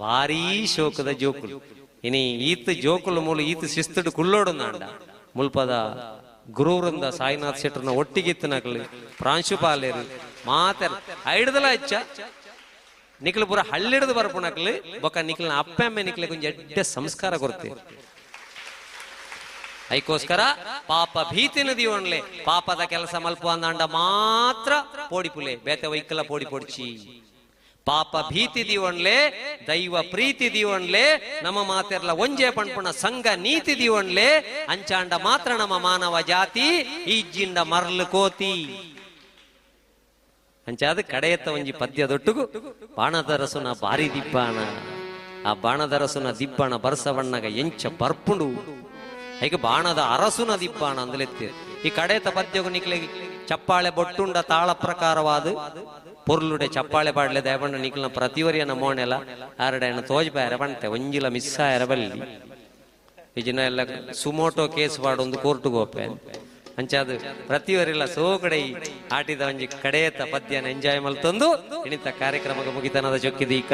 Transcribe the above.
ಭಾರೀ ಶೋಕದ ಜೋಕುಲು. ಇನಿ ಈತ್ ಜೋಕುಲು ಮೂಲು ಈತ್ ಶಿಸ್ತುಡು ಕುಲ್ಲೋಡು ನಾಂಡ ಮುಲ್ಪದ ಗುರುವೃಂದ ಸಾಯಿನಾಥ್ ಶೆಟ್ಟರ್ನ ಒಟ್ಟಿಗಿತ್ತನಕಲು ಪ್ರಾಂಶುಪಾಲೇರು ಮಾತೆರ್ ಐಡ್ದಲ ಹೆಚ್ಚ ನಿಕ್ಲು ಪೂರ ಹಳ್ಳಿಡ್ದು ಬರ್ಪುನಕ್ಲು ಬೊಕ್ಕ ನಿಕ್ಲಿನ ಅಪ್ಪೆಮ್ಮೆ ನಿಕ್ಲೆ ಕೊಂಚ ಎಡ್ಡೆ ಸಂಸ್ಕಾರ ಕೊರ್ತೆ. ಐಕೋಸ್ಕರ ಪಾಪ ಭೀತಿನ ದೀವಣ್ಲೆ, ಪಾಪದ ಕೆಲಸ ಮಲ್ಪು ಅಂದಾಂಡ ಮಾತ್ರ ಪೋಡಿಪುಲೆ, ಬೇತೆ ವೈಕಲ ಪೋಡಿ ಪೊಡ್ಚಿ. ಪಾಪ ಭೀತಿ ದೀವಣ್ಲೆ, ದೈವ ಪ್ರೀತಿ ದೀವಣ್ಲೆ, ನಮ್ಮ ಮಾತೆರ್ಲ ಒಂಜೆ ಪಣ್ಪುಣ ಸಂಘ ನೀತಿ ದೀವಣ್ಲೆ, ಅಂಚಾಂಡ ಮಾತ್ರ ನಮ್ಮ ಮಾನವ ಜಾತಿ ಈಜಿಂಡ ಮರ್ಲು ಕೋತಿ. ಅಂಚಾದ ಕಡೆಯತ್ತ ಒಂಜಿ ಪದ್ಯದೊಟ್ಟುಗು ಬಾಣದರಸುನ ಬಾರಿ ದಿಬ್ಬಾಣ, ಆ ಬಾಣದರಸುನ ದಿಬ್ಬಾಣ ಬರ್ಸವಣ್ಣಗ ಎಂಚ ಬರ್ಪುಂಡು, ಐಕ ಬಾಣದ ಅರಸುನ ದಿಬ್ಬಾಣ ಅಂದಲೆತ್ತಿ. ಈ ಕಡೆತ ಪದ್ಯಗು ನಿಕ್ಲೆ ಚಪ್ಪಾಳೆ ಬೊಟ್ಟುಂಡ ತಾಳ ಪ್ರಕಾರವಾದ ಪೊರ್ಲುಡೆ ಚಪ್ಪಾಳೆ ಪಾಡ್ಲೆ ದೇವಣ್ಣ ನಿಕ್ಲಿನ ಪ್ರತಿವರಿಯನ ಮೋಣೆಲ ಆರಡೆನ ತೋಜ್ಪಾಯರ ಪಂತೆ ಒಂಜಿಲ ಮಿಸ್ ಆಯರ ಬಲ್ಲಿ. ಈ ಜನ ಎಲ್ಲ ಸುಮೋಟೋ ಕೇಸ್ ಪಾಡೊಂದು ಕೋರ್ಟುಗೆ ಹೋಪೆ. ಅಂಚಾದ ಪ್ರತಿವರಿಲ್ಲ ಸೋಕಡೆ ಆಟಿದ ಒಂಜಿ ಕಡೆಯತ್ತ ಪದ್ಯನ ಎಂಜಾಯ್ ಮಲ್ತೊಂದು ಇಣಿತ ಕಾರ್ಯಕ್ರಮಕ್ಕೆ ಮುಗಿತನದ ಚೊಕ್ಕಿದೀಕ.